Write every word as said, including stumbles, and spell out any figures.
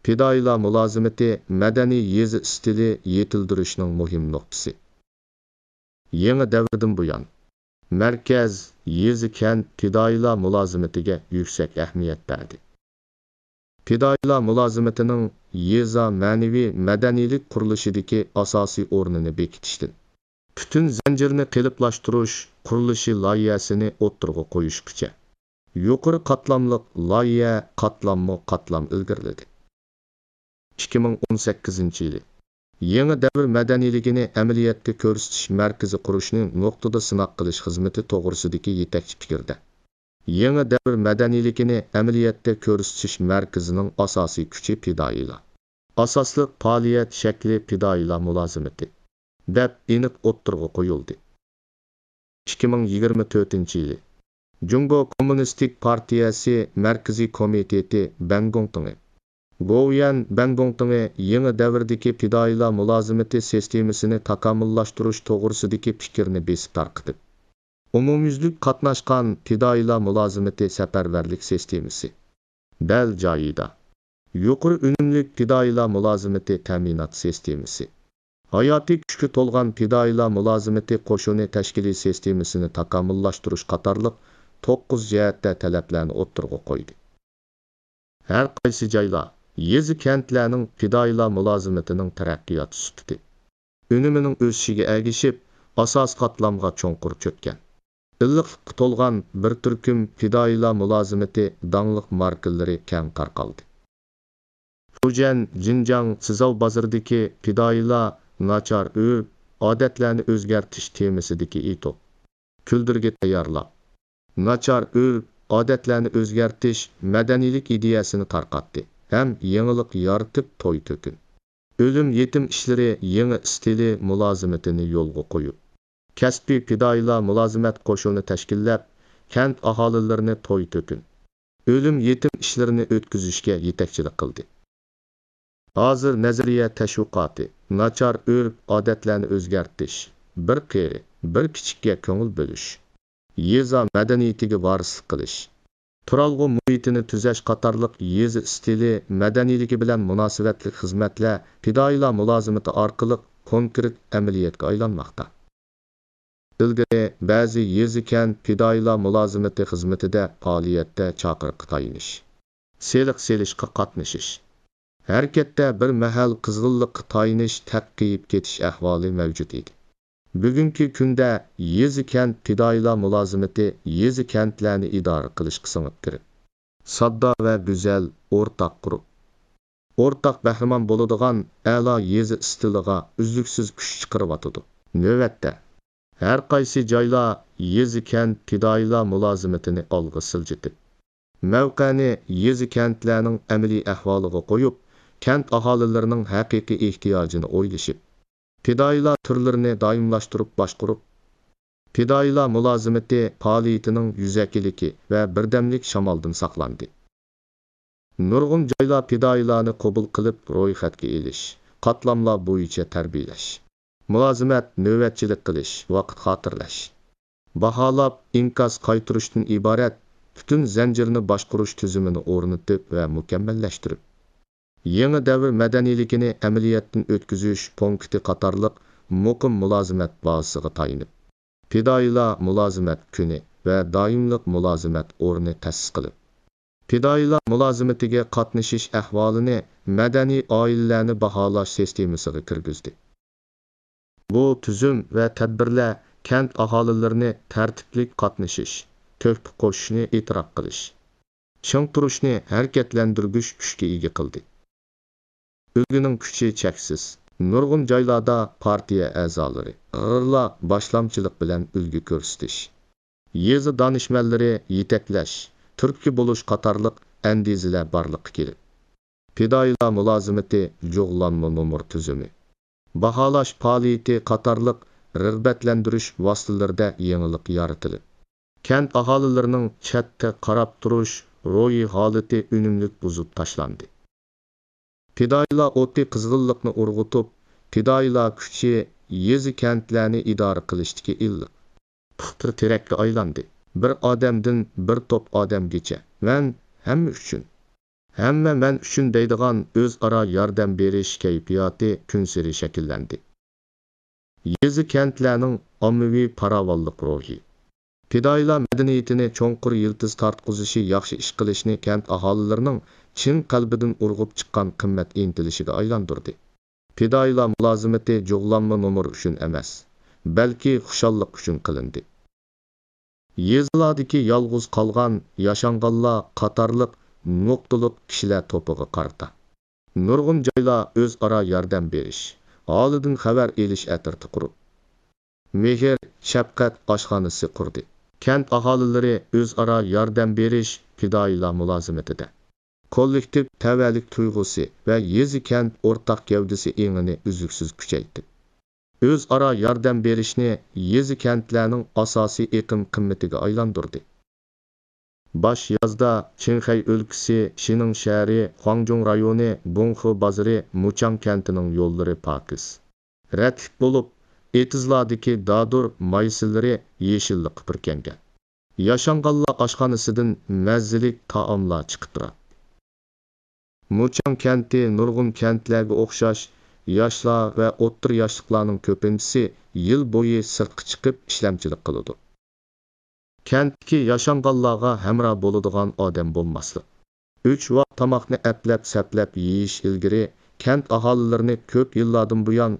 پىدائىيلار مۇلازىمىتى مەدەنىي يېزا ئىستىلى يېتىلدۈرۈشنىڭ مۇھىم نۇقتىسى. يېڭى دەۋردىن بۇيان، مەركەز، يېزا، كەنت پىدائىيلار مۇلازىمىتىگە يۈكسەك ئەھمىيەت بەردى. پىدائىيلار مۇلازىمىتىنىڭ يېزا مەنىۋى مەدەنىيلىك قۇرۇلۇشىدىكى ئاساسىي ئورنىنى بېكىتىشتىن، پۈتۈن زەنجىرنى قېلىپلاشتۇرۇش قۇرۇلۇشى لايىھەسىنى ئوتتۇرىغا قويۇشقىچە، يۇقىرى قاتلاملىق لايىھە قاتلاممۇ قاتلام ئىلگىرىلىدى. ئىككى مىڭ ئون سەككىزىنچى يىلى يېڭى دەۋر مەدەنىيلىكىنى ئەمەلىيەتتە كۆرسىتىش مەركىزى قۇرۇشنى نۇقتىدا سىناق قىلىش خىزمىتى توغرىسىدىكى يېتەكچى پىكىردە، يېڭى دەۋر مەدەنىيلىكىنى ئەمەلىيەتتە كۆرسىتىش مەركىزىنىڭ ئاساسىي كۈچى پىدائىيلار، ئاساسلىق پائالىيەت شەكلى پىدائىيلار مۇلازىمىتى، دەپ ئېنىق ئوتتۇرىغا قويۇلدى. ئىككى مىڭ يىگىرمە تۆتىنچى يىلى جۇڭگو كوممۇنىستىك پارتىيەسى مەركىزىي كومىتېتى بەنگوڭتىڭى، گوۋۇيۈەن بەنگوڭتىڭى يېڭى دەۋردىكى پىدائىيلار مۇلازىمىتى سىستېمىسىنى تاكامۇللاشتۇرۇش توغرىسىدىكى پىكىرنى بېسىپ تارقىتىپ، ئومۇميۈزلۈك قاتناشقان پىدائىيلار مۇلازىمىتى سەپەرۋەرلىك سىستېمىسى، دەل جايىدا يۇقىرى ئۈنۈملۈك پىدائىيلار مۇلازىمىتى تەمىنات سىستېمىسى، ھاياتىي كۈچكە تولغان پىدائىيلار مۇلازىمىتى قوشۇنى تەشكىلىي سىستېمىسىنى تاكامۇللاشتۇرۇش قاتارلىق توققۇز جەھەتتە تەلەپلەرنى ئوتتۇرىغا قويدى. ھەر قايسى جايلار، يېزا-كەنتلەرنىڭ پىدائىيلار مۇلازىمىتىنىڭ تەرەققىيات سۈپىتى، ئۈنۈمىنىڭ ئۆسۈشىگە ئەگىشىپ، ئاساسىي قاتلامغا چوڭقۇر چۆككەن، ئىللىقلىققا تولغان بىر تۈركۈم پىدائىيلار مۇلازىمىتى داڭلىق ماركىلىرى كەڭ تارقالدى. فۇجيەن، جىنجاڭ، سىزاۋ بازىرىدىكى پىدائىيلار ناچار ئۆرپ-ئادەتلەرنى ئۆزگەرتىش تېمىسىدىكى ئېتوت، كۈلدۈرگە تەييارلاپ، ناچار ئۆرپ-ئادەتلەرنى ئۆزگەرتىش مەدەنىيلىك ئىدىيەسىنى تارقاتتى ھەم يېڭىلىق يارىتىپ توي-تۆكۈن، ئۆلۈم-يېتىم ئىشلىرى يېڭى ئىستىلى مۇلازىمىتىنى يولغا قويۇپ، كەسپىي پىدائىيلار مۇلازىمەت قوشۇنى تەشكىللەپ، كەنت ئاھالىلىرىنى توي-تۆكۈن، ئۆلۈم-يېتىم ئىشلىرىنى ئۆتكۈزۈشكە يېتەكچىلىك قىلدى. ھازىر نەزەرىيە تەشۋىقاتى، ناچار ئۆرپ-ئادەتلەرنى ئۆزگەرتىش، بىر قېرى، بىر كىچىككە كۆڭۈل بۆلۈش، يېزا مەدەنىيىتىگە ۋارىسلىق قىلىش، تۇرالغۇ مۇھىتىنى تۈزەش قاتارلىق يېزا ئىستىلى مەدەنىيلىكى بىلەن مۇناسىۋەتلىك خىزمەتلەر پىدائىيلار مۇلازىمىتى ئارقىلىق كونكرېت ئەمەلىيەتكە ئايلانماقتا. ئىلگىرى بەزى يېزا-كەنت پىدائىيلار مۇلازىمىتى خىزمىتىدە پائالىيەتتە چاقىرىققا تايىنىش، سېلىق سېلىشقا قاتنىشىش، ھەرىكەتتە بىر مەھەل قىزغىنلىققا تايىنىش تەققىيىپ كېتىش ئەھۋالى مەۋجۇت ئىدى. بۈگۈنكى كۈندە يېزا-كەنت پىدائىيلار مۇلازىمىتى يېزا-كەنتلەرنى ئىدارە قىلىشقا سىڭىپ كىرىپ، ساددا ۋە گۈزەل ئورتاق قۇرۇپ، ئورتاق بەھرىمەن بولىدىغان ئەلا يېزا ئىستىلىغا ئۈزلۈكسىز كۈچ چىقىرىۋاتىدۇ. نۆۋەتتە، ھەر قايسى جايلار يېزا-كەنت پىدائىيلار مۇلازىمىتىنى ئالغا سىلجىتىپ، مەۋقەنى يېزا-كەنتلەرنىڭ ئەمەلىي ئەھۋالىغا قويۇپ، كەنت ئاھالىلىرىنىڭ ھەقىقىي ئېھتىياجىنى ئويلىشىپ، پىدائىيلار تۈرلىرىنى دائىملاشتۇرۇپ باشقۇرۇپ، پىدائىيلار مۇلازىمىتى پائالىيىتىنىڭ يۈزەكىلىكى ۋە بىردەملىك شامالدىن ساقلاندى. نۇرغۇن جايلار پىدائىيلارنى قوبۇل قىلىپ رويخەتكە ئېلىش، قاتلاملار بويىچە تەربىيەلەش، مۇلازىمەت، نۆۋەتچىلىك قىلىش، ۋاقىت خاتىرىلەش، باھالاپ ئىنكاس قايتۇرۇشتىن ئىبارەت پۈتۈن زەنجىرنى باشقۇرۇش تۈزۈمىنى ئورنىتىپ ۋە مۇكەممەللەشتۈرۈپ، يېڭى دەۋر مەدەنىيلىكىنى ئەمەلىيەتتىن ئۆتكۈزۈش پونكىتى قاتارلىق مۇقىم مۇلازىمەت بازىسىغا تايىنىپ، پىدائىيلار مۇلازىمەت كۈنى ۋە دائىملىق مۇلازىمەت ئورنى تەسىس قىلىپ، پىدائىيلار مۇلازىمىتىگە قاتنىشىش ئەھۋالىنى مەدەنىي ئائىلىلەرنى باھالاش سىستېمىسىغا كىرگۈزدى. بۇ تۈزۈم ۋە تەدبىرلەر كەنت ئاھالىلىرىنى تەرتىپلىك قاتنىشىش، تۆھپە قوشۇشنى ئېتىراپ قىلىش، چىڭ تۇرۇشنى ھەرىكەتلەندۈرگۈچ كۈچكە ئىگە قىلدى. ئۈلگىنىڭ كۈچى چەكسىز. نۇرغۇن جايلاردا پارتىيە ئەزالىرى، ئىغغىرلار باشلامچىلىق بىلەن ئۈلگە كۆرسىتىش، يېزا دانىشمەنلىرى يېتەكلەش، تۈرتكە بولۇش قاتارلىق ئەندىزىلەر بارلىققا كېلىپ، پىدائىيلار مۇلازىمىتى، جۇغلانما نومۇر تۈزۈمى، باھالاش پائالىيىتى قاتارلىق رىغبەتلەندۈرۈش ۋاسىتىلىرىدە يېڭىلىق يارىتىلىپ، كەنت ئاھالىلىرىنىڭ چەتتە قاراپ تۇرۇش روھىي ھالىتى ئۈنۈملۈك بۇزۇپ تاشلاندى. پىدائىيلار ئوتى قىزغىنلىقنى ئۇرغۇتۇپ، پىدائىيلار كۈچى يېزا-كەنتلەرنى ئىدارە قىلىشتىكى ئىللىق پۇختا تىرەككە ئايلاندى. بىر ئادەمدىن بىر توپ ئادەمگىچە، مەن ھەممە ئۈچۈن. ھەممە مەن ئۈچۈن دەيدىغان ئۆزئارا ياردەم بېرىش كەيپىياتى كۈنسېرى شەكىللەندى. يېزا-كەنتلەرنىڭ ئاممىۋى پاراۋانلىق روھى. پىدائىيلار مەدەنىيىتىنى چوڭقۇر يىلتىز تارتقۇزۇشى ياخشى ئىش قىلىشنى كەنت ئاھالىلىرىنىڭ چىن قەلبىدىن ئۇرغۇپ چىققان قىممەت ئىنتىلىشىگە ئايلاندۇردى. پىدائىيلار مۇلازىمىتى جۇغلانما نومۇر ئۈچۈن ئەمەس، بەلكى خۇشاللىق ئۈچۈن قىلىندى. يېزىلاردىكى يالغۇز قالغان ياشانغانلار قاتارلىق نۇقتىلىق كىشىلەر توپىغا قارىتا نۇرغۇن جايلار ئۆزئارا ياردەم بېرىش، ھالىدىن خەۋەر ئېلىش ئەترىتى قۇرۇپ، مېھىر، شەپقەت ئاشخانىسى قۇردى. كەنت ئاھالىلىرى ئۆزئارا ياردەم بېرىش پىدائىيلار مۇلازىمىتىدە كوللېكتىپ تەۋەلىك تۇيغۇسى ۋە يېزا-كەنت ئورتاق گەۋدىسى ئېڭىنى ئۈزلۈكسىز كۈچەيتتى. ئۆزئارا ياردەم بېرىشنى يېزا-كەنتلەرنىڭ ئاساسىي ئېقىم قىممىتىگە ئايلاندۇردى. باش يازدا چىڭخەي ئۆلكىسى شىنىڭ شەھىرى، خۇاڭجۇڭ رايونى، بۇڭخې بازىرى، مۇچاڭ كەنتىنىڭ يوللىرى پاكىز، رەتلىك بولۇپ، ئېتىزلاردىكى دادۇر مايسىلىرى يېشىللىققا پۈركەنگەن. ياشانغانلار ئاشخانىسىدىن مەززىلىك تائاملار چىقىپ تۇراتتى. مۇچاڭ كەنتى نۇرغۇن كەنتلەرگە ئوخشاش، ياشلار ۋە ئوتتۇرا ياشلىقلارنىڭ كۆپىنچىسى يىل بويى سىرتقا چىقىپ ئىشلەمچىلىك قىلىدۇ. كەنتتىكى ياشانغانلارغا ھەمراھ بولىدىغان ئادەم بولماسلىق. ئۈچ ۋاق تاماقنى ئەپلەپ-سەپلەپ يېيىش ئىلگىرى كەنت ئاھالىلىرىنى كۆپ يىللاردىن بۇيان